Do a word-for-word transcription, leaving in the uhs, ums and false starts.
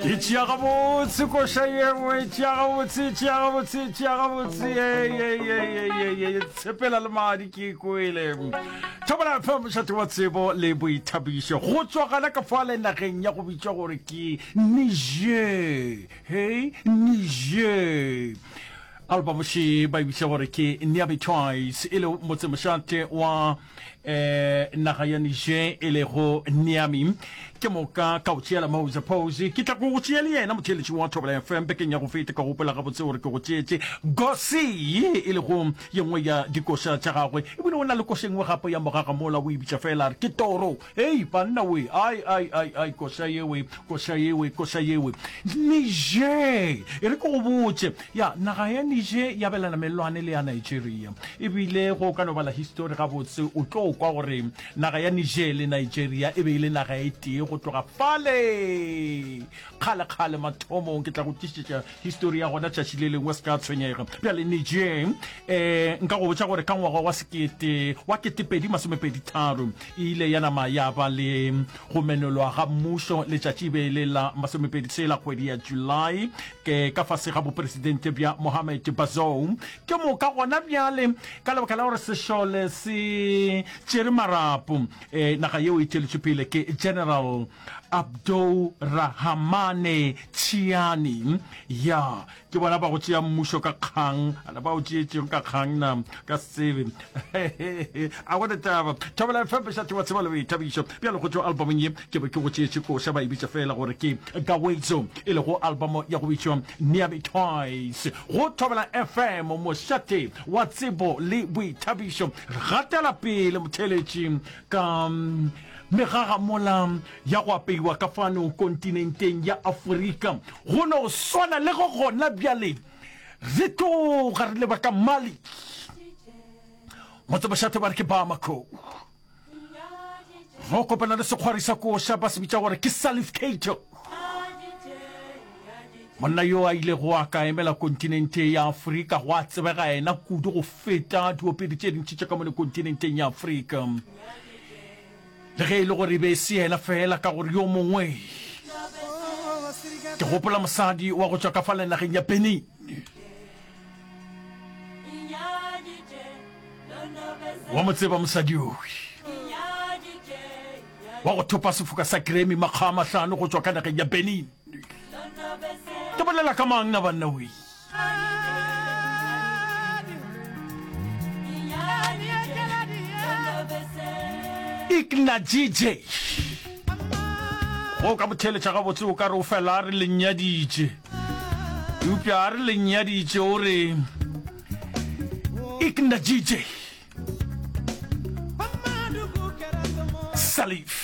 E tšea gabotse koša yengwe, e tšea gabotse, e tšea gabotse, e tšea gabotse. Ye tshepela le madi ke kwele. Thobela F M, mošate wa tsebo le boithabišo. Go tšwa gana ka fale nageng ya go bitšwa gore ke Niger. Hey, Niger. Album še ba e bitša gore ke Niamey Twice, e le motsemošate wa eh, naga ya Niger e lego Niamey. Ke moka ka o tšeela Mose Pose, ke tla go go tšea le yena motheeletši wa Thobela F M bekeng ya go feta. Ka gopola gabotse gore ke go tšeetše Gosi, e lego ye nngwe ya dikoša tša gagwe, ebile o na le koša e nngwe gape ya mogaga mola o e bitša fela a re ke Toro. Hei banna we, ai ai ai ai, koša yewe, koša yewe, koša yewe. Niger, e re ke go botše, ya naga ya Niger ya abelana mellwane le ya Nigeria, ebile go ka no bala histori gabotse o tlo kwa gore naga ya Niger le Nigeria e be e le naga e tee go tloga fale kgale-kgale mathomong. Ke tla go tlišetša histori ya gona tšatši le lengwe, se ka tshwenyega. Bjale Niger, um nka go botša gore ka ngwaga wa sekete wa ketepedi masomepedi tharo e ile ya nama ya ba le go menolwa ga mmušo. Letšatši e be e le la masomepedi tshela kgwedi ya July, ke ka fase ga bopresidente bja Mohamed Bazoum. Ke moka gona bjale ka lebaka la gore sešole se tšere marapo, um naga yeo e tšweletšwe pele ke General Abdourahamane Tchiani. Ya ke bona ba go tšea mmušo ka kgang, ana ba o tšeetšeng ka kgang na ka se tsebe. A gona taba. Thobela F M, mošate wa tsebo le boithabišo. Bjale go tšwa albumong ye ke be ke go tšeetše koša, ba e bitša fela gore ke Gawezo, e lego album ya go bitšwa Niamey Twice. Go Thobela F M, mošate wa tsebo le boithabišo. Re gatela pele motheeletši ka megagamola ya go apeiwa ka fano kontinenteng ya Afrika. Go no swana le go gona bjale re tloga re leba ka Mali, motsemošate ba re ke Bamako, go kopana le sekgwari sa koša ba se bitša gore ke Salif Keita, monna yo a ilego a ka emela kontinente ya Afrika go a tsebega yena kudu go feta diopedi tše dintši tša ka mone kontinenteng ya Afrika. Le ge e le gore e be e se yena fela, ka gore yo mongwe, ke gopola mosadi wa go tšwa ka fale nageng ya Benin, wa mo tseba mosadi yowe wa go thopa sefoka sa Grammy makga a mahlano go tšwa ka nageng ya Benin. Ke bolela ka mang na banna we? Ikna G J. Go ka motheeletša gabotse o ka re o fela a re lenyaditše, eupša a re lenyaditše o re Ikna G J. Salif.